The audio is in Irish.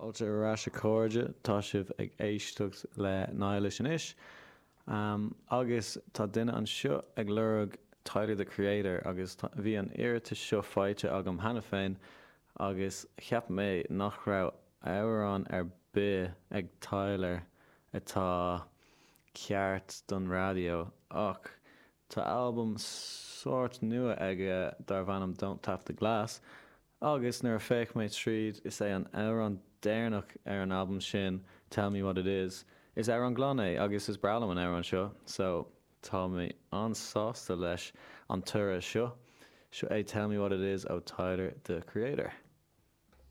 Fáilte ar ais a chairde, tá sibh ag éisteacht le Niallish anois. Agus tá duine anseo ag lorg Tyler the Creator agus bhí an iarratas seo faighte agam cheana féin agus cheap mé nach raibh amhrán ar bith ag Tyler atá ceart don raidió ach tá albam sórt nua aige darb ainm Don't Tap the Glass Agus nuair a féach mé tríd, is é an amhrán deireanach ar an albam sin, Tell Me What It Is. Is amhrán glan é agus is breá liom an amhrán seo, so tá mé an-sásta leis an toradh seo. Seo é Tell Me What It Is ó Tyler, The Creator.